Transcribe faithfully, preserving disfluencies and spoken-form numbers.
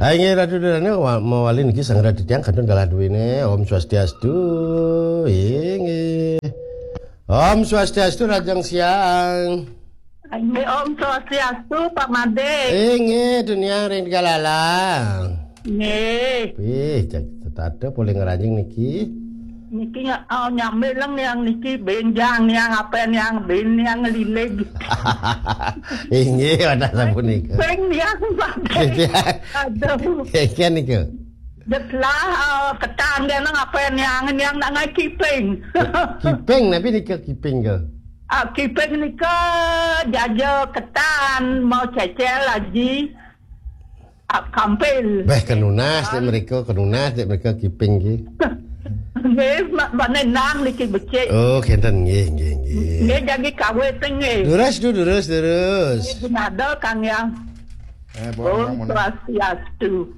Inggih Ratu Durana, wa- mawali niki sang Ratu tiang kantun galah duwene. Om Swastiastu. Inggih. Om Swastiastu, Rajang Siang. Inggih, Om Swastiastu, Pak Made. Inggih, tuniang ring Tegalala. Nggih. Wih, cek setata polih ngranjing niki. Niki nga- oh, nyambi leng niang niki benjang niang apa niang ben niang lilig. Inggih, wadah sapunika. Ping niang Pak Made. Aduh. Inggih nika. Jetlah uh, ketan dia nang apa niang niang nak ngai kiping. Kiping, napi nika kiping ke? Ah, kiping nika jaja ketan mau cecel aji. Ah, kampil. Beh, kenunas dek mereka, kenunas dek mereka kiping ki. Nggih, ma- bane nang niki becik. Oh, kenten nggih, nggih, nggih. Nggih, jagi kawit nggih. Durus tu, durus, durus. Nggih, ada Kang ya. Eh, Om Swastiastu.